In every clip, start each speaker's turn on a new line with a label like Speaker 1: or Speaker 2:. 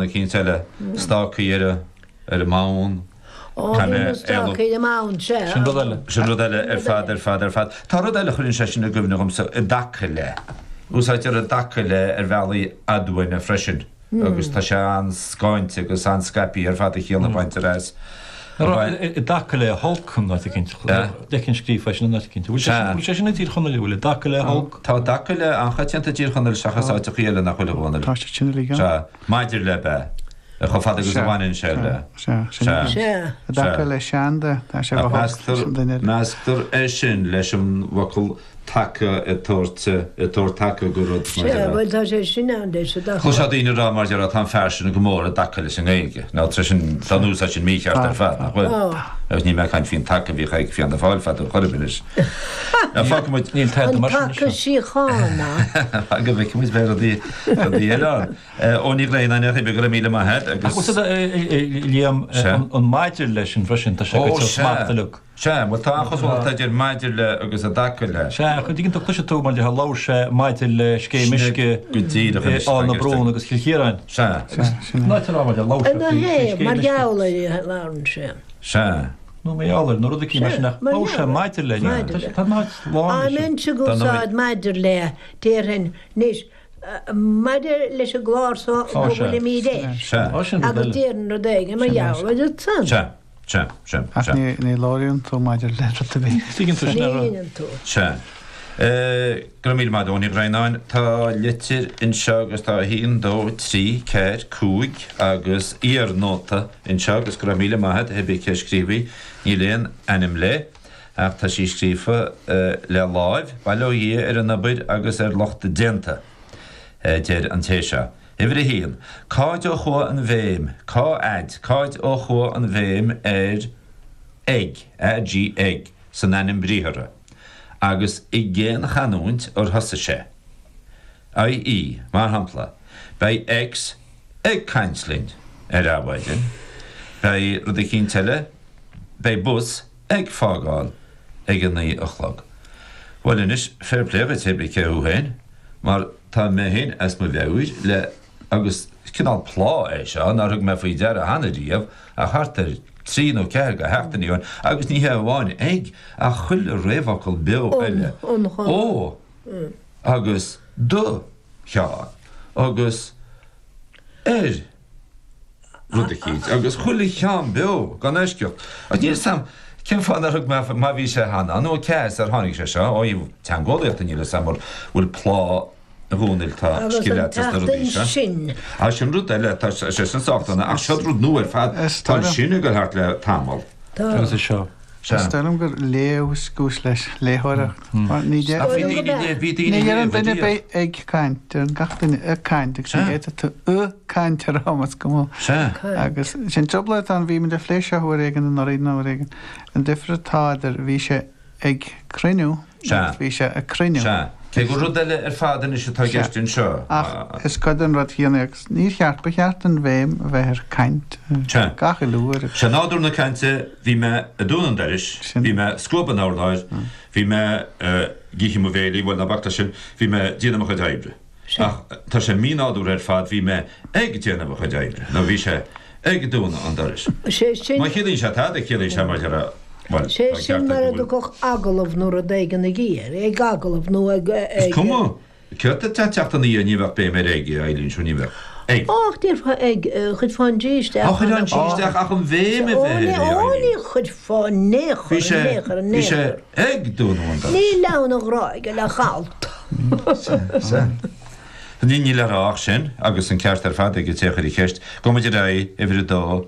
Speaker 1: Eicínt eile, stácaí ar ar an mbonn.
Speaker 2: Ó, bhí na stácaí ar an mbonn, sea.
Speaker 3: Sin rud eile.
Speaker 1: Sin rud eile ar fad, ar fad, ar fad. Tá rud eile a chuireann sé sin i gcuimhne dhomsa, i dtaca le. Úsáidtear i dtaca le ar bhealaí aduaine freisin agus tá sé an-scáinte agus an-scaipthe ar fad a chiall a bhaintear as.
Speaker 3: I dtaca le holc in áit eicínt, d'fheicfinn scríofa é sin in áit eicínt. Bhfuil sé sin i dTír Chonaill, bhfuil i dtaca le holc?
Speaker 1: Tá i dtaca le an-choitianta i dTír Chonaill seachas áiteachaí eile nach bhfuil a Dhónaill.
Speaker 4: Tá sé sin uilig ann.
Speaker 1: Sea. Maidir le bheith, chomh fada agus a bhaineann sé le.
Speaker 4: Sea, sin é.
Speaker 2: Sea.
Speaker 4: I dtaca le Seán de, tá sé go holc leis an duine eile.
Speaker 1: Measctar é sin leis an bhfocal taca ag tabhairt, ag tabhairt taca go rud, mar
Speaker 2: Sea,
Speaker 1: déarfá.
Speaker 2: bhuel tá sé sin ann leis, i dtaca.
Speaker 1: Chloisfeá daoine ag rá, mar déarfá, tá an fear sin go mór i dtaca leis an nGaeilge. Now tá sin, tá an úsáid sin mícheart ar fad, nach bhfuil?
Speaker 2: Tá.
Speaker 1: Agus níl mé ag caint faoin taca a bhíodh ag Fianna Fáil fadó chor ar bith anois. Now fágfaidh muid.
Speaker 3: Níl tada
Speaker 2: An
Speaker 3: mar sin
Speaker 2: taca
Speaker 3: anseo.
Speaker 2: síochána.
Speaker 1: Go bhfeicfidh muid, beidh rudaí, rudaí eile ann. Eoin Ní Bhraonáin, a Chuibhe, go raibh míle maith a't agus.
Speaker 3: Ach bhfuil a Liam, an maidir leis sin freisin, tá sé
Speaker 1: Ó,
Speaker 3: go
Speaker 1: sea.
Speaker 3: smacht uilig.
Speaker 1: Sea, bhuel tá an-chosúlacht idir maidir le agus i dtaca le.
Speaker 3: Sea, ach an dtuigeann tú, cloisfidh tú mar déarfá labhair sé maidir le scéim
Speaker 1: Sin é
Speaker 3: uisce
Speaker 1: go díreach anois
Speaker 3: Áth
Speaker 1: atá
Speaker 3: na
Speaker 1: i gceist
Speaker 3: Brún
Speaker 1: agam.
Speaker 3: agus Chill Chiaráin.
Speaker 1: Sea.
Speaker 4: Sea, sin é.
Speaker 3: An áit a raibh mar déarfá labhair sé
Speaker 2: Ina
Speaker 3: faoi
Speaker 2: thaobh,
Speaker 3: scéim
Speaker 2: mar
Speaker 3: uisce.
Speaker 2: gheall ar a labhrann sé.
Speaker 1: Sea.
Speaker 3: Nó mar gheall ar, nó rud eicínt mar sin ach
Speaker 2: Sea, mar
Speaker 3: labhair sé
Speaker 2: gheall ar.
Speaker 3: maidir le.
Speaker 2: Maidir le.
Speaker 3: Tá an áit lán
Speaker 2: Á
Speaker 3: leis sin.
Speaker 2: mbeinnse ag
Speaker 1: Dar ndóigh.
Speaker 2: úsáid maidir le, déarfainn, anois, Maidir leis an gclár so go bhfuilimíd air.
Speaker 1: Sea.
Speaker 2: Agus déarfainn rud éigin mar gheall air san.
Speaker 1: Sea. Sea. Sea.
Speaker 4: Ach ní labhraíonn tú maidir le rud ar bith.
Speaker 3: Tuigeann tú sin
Speaker 2: Ní
Speaker 3: ar.
Speaker 2: dheineann tú.
Speaker 1: Sea. Go raibh míle maith a't, Eoin Uí Bhraonáin. Tá litir anseo agus tá 1, 2, 3, 4, 5 agus iar-nóta anseo agus go raibh míle maith a't, hé bith cé a scríobh í, níl aon ainm léi. Ach tá sí scríofa le láimh, bail ó Dhia ar an obair agus ar lucht a déanta, a deir an té seo. Uimhir a haon, Cáid ó chuaigh an bhéim, cá fhaid, cáid ó chuaigh an bhéim ar ag, AG, ag, san ainm briathartha, agus i gcén chanúint ar thosaigh sé? IE, Mar shampla, beidh X ag caint linn ar Adhmhaidin, beidh rud eicínt eile, beidh bus ag fágáil ag a 9 a chlog. Bhuel anois, fair play dhuit, hé bith cé thú féin, mar tá mé féin as mo mheabhair le, agus cineál plá é seo nár thug mé faoi deara cheana riamh ach thart ar thrí nó ceathair de sheachtainí ó shin, agus ní hé amháin ag, ach chuile réamhfhocal beo eile, ó agus do Sheán agus ar. rud eicínt, agus chuile cheann beo, gan eisceacht. Ach níl 'fhios a'm cén fáth nár thug mé, má bhí sé cheana, nó cé as ar tháinig sé seo, ó thaobh teangeolaíochta níl 'fhios a'm mura bhfuil plá a Dhónaill tá
Speaker 2: Agus
Speaker 1: scil
Speaker 2: an
Speaker 1: a't sna rudaí
Speaker 2: tseachtain
Speaker 1: seo.
Speaker 2: sin.
Speaker 1: Á sin rud eile, tá sé sin sách dona, ach seo rud nua ar fad, tá an sin ag dul thart le tamall.
Speaker 2: Tá.
Speaker 3: Agus é seo.
Speaker 1: Sea.
Speaker 4: Is dóigh liom gur léamh is cúis leis, léitheoireacht. Mar ní
Speaker 1: Ach bhí
Speaker 2: Dóigh liom
Speaker 1: daoine
Speaker 2: go
Speaker 1: léamh, bhí
Speaker 4: ní
Speaker 1: daoine
Speaker 4: deireann
Speaker 1: léamh
Speaker 4: duine
Speaker 1: ariamh.
Speaker 4: beidh ag caint, deireann gach duine ag caint agus ní
Speaker 1: Sea.
Speaker 4: fhéadfaidh tú a caint a rá más cuma.
Speaker 1: Sea.
Speaker 4: Agus sin trioblóid atá ann, bhí muid ag plé seo uair éigin anuraidh nó uair éigin, an difear atá idir bhí sé ag cruinniú
Speaker 1: Sea.
Speaker 4: agus bhí sé ag cruinniú.
Speaker 1: Sea. Cé gur rud eile ar fad anois atá i
Speaker 4: Sea.
Speaker 1: gceist anseo.
Speaker 4: Ach is cuid den rud chéanna é agus níor cheart, ba cheart an bhéim a bheith ar caint
Speaker 1: Sea.
Speaker 4: gach uile uair.
Speaker 1: Sé nádúr na cainte, bhí mé ag dúnadh an dorais,
Speaker 4: Sin.
Speaker 1: bhí mé ag scuabadh an urláir, bhí mé ag ithe mo bhéilí, bhuel ná bac leis sin, bhí mé ag déanamh mo chuid oibre. Ach tá sé mínádúrtha ar fad, bhí mé ag déanamh a chuid oibre, nó bhí sé ag dúnadh an dorais.
Speaker 2: Sé sin.
Speaker 1: Má chiallaíonn sé tada, ciallaíonn sé mar dhea, bhuel,
Speaker 2: Sé
Speaker 1: tá
Speaker 2: sin
Speaker 1: ceart
Speaker 2: mar
Speaker 1: ag
Speaker 2: a
Speaker 1: go bhfuil.
Speaker 2: dtiocfadh agallamh nó rud éigin ag iarraidh, ag agallamh nó ag,
Speaker 1: Is
Speaker 2: ag.
Speaker 1: cuma, céard atá ag teacht ina dhiaidh, ní bheadh béim ar ag, a Eileen, sure ní bheadh. Ag.
Speaker 2: Ach déarfá ag, chuirfeá an G isteach.
Speaker 1: Á, chuirfeá an G isteach ach an bhéim a
Speaker 2: Ó,
Speaker 1: bheith
Speaker 2: ní,
Speaker 1: air, a
Speaker 2: ó,
Speaker 1: Eileen.
Speaker 2: ní chuirfeá in aon chor,
Speaker 1: Bhí sé,
Speaker 2: in aon chor, in
Speaker 1: bhí
Speaker 2: aon
Speaker 1: sé
Speaker 2: chor.
Speaker 1: ag dúnadh an dorais.
Speaker 2: Ní leann an ghráige le halt.
Speaker 1: Sea. Níl le rá ach sin, agus an ceart ar fad ag an té a chuir an cheist. Gabhfaidh muid ar aghaidh, uimhir a dó.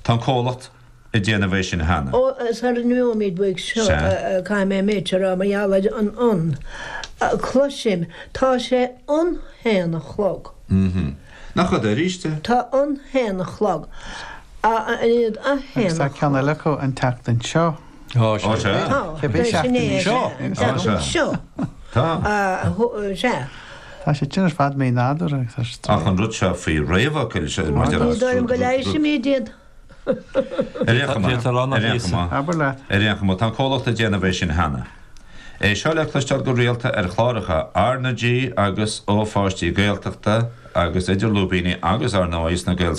Speaker 1: Tá an comhlacht ag déanamh é sin cheana.
Speaker 2: Ó, sara n-imeoimid uaidh seo,
Speaker 1: Sea.
Speaker 2: caithfidh mé an méid seo a rá mar gheall ar an an. Cloisim, tá sé an haon a chlog.
Speaker 1: Mm-hmm. Nach fada arís é?
Speaker 2: Tá an haon a chlog. A, in ionad a haon
Speaker 4: Agus tá
Speaker 2: a
Speaker 4: ceann
Speaker 2: chlog.
Speaker 4: eile acu an tseachtain seo.
Speaker 3: Ó, sea.
Speaker 1: Ó, sea.
Speaker 2: Tá.
Speaker 4: Cibé
Speaker 2: Sin é,
Speaker 4: seachtain
Speaker 2: sea. An tseachtain seo.
Speaker 1: Tá.
Speaker 2: Sea.
Speaker 4: Tá sé sin ar fad mínádúrtha agus tá sé
Speaker 1: Ach an rud seo faoi réamhfhocail, sea, maidir
Speaker 2: Ní
Speaker 1: le.
Speaker 2: dóigh liom go leighisfimid iad.
Speaker 1: Ar aon chuma,
Speaker 3: D'fhéadfá a rá nach
Speaker 1: ar aon chuma,
Speaker 4: Abair leat.
Speaker 1: ar aon chuma, tá an comhlacht ag déanamh é sin cheana. É seo le cloisteáil go rialta ar chláracha R na G agus ó pháistí Gaeltachta. agus idir lúibíní agus, ar ndóigh, sna Gaelscoileanna.